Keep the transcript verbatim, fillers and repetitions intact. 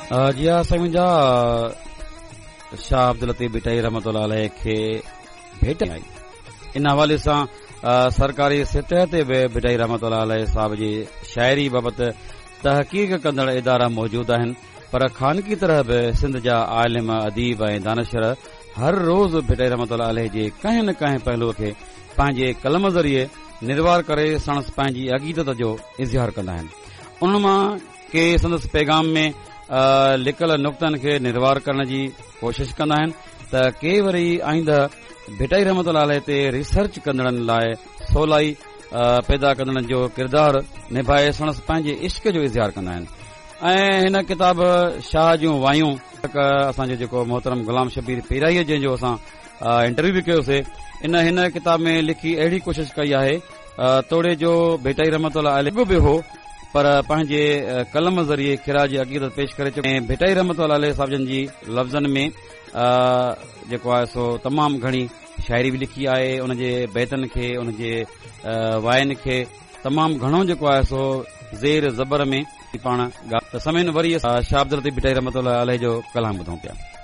جي ها سائين منهنجا، شاهه عبداللطيف ڀٽائي رحمت الله عليه کي ڀيٽ آئي. ان حوالي سان سرڪاري سطح تي به ڀٽائي رحمت الله عليه صاحب جي شاعري بابت تحقيق ڪندڙ ادارا موجود آهن، پر خانگي طرح به سنڌ جا عالم، اديب ۽ دانشور هر روز ڀٽائي رحمت الله عليه جي ڪنهن نه ڪنهن پهلوء کي پنهنجي قلم ذريعي نروار ڪري ساڻس پنهنجي عقيدت جو اظهار ڪندا آهن. انهن مان ڪي سندس پيغام ۾ لڪل نقطن کي نروار ڪرڻ جي ڪوشش ڪندا آهن ته ڪي وري آئنده ڀٽائي رحمت الله عليه تي ريسرچ ڪندڙن لاء سولائي پيدا ڪندڙن جو ڪردار نڀائي ساڻس پنهنجي عشق جو اظهار ڪندا آهن. ۽ هن ڪتاب شاهه جون وايون اسان جو جيڪو محترم غلام شبير پيرائي، جنهن جو اسان انٽرويو به ڪيوسي، ان هن ڪتاب ۾ لکي اهڙي ڪوشش ڪئي آهي، توڙي جو ڀٽائي رحمت الله عليه به هو پر پنهنجي قلم ذريعي خراج عقيدت پيش ڪري چڪو ۽ ڀٽائي رحمت الله عليه صاحب جن جي لفظن ۾ جيڪو آهي سو تمام گهڻي شاعري به لکي آهي. ان جي بيتن کي، ان جي واين کي تمام گهڻو جيڪو آهي سو زير زبر ۾ پاڻ ته سمين. وري شاهه عبداللطيف ڀٽائي رحمت الله عليه جو ڪلام ٻڌون پيا.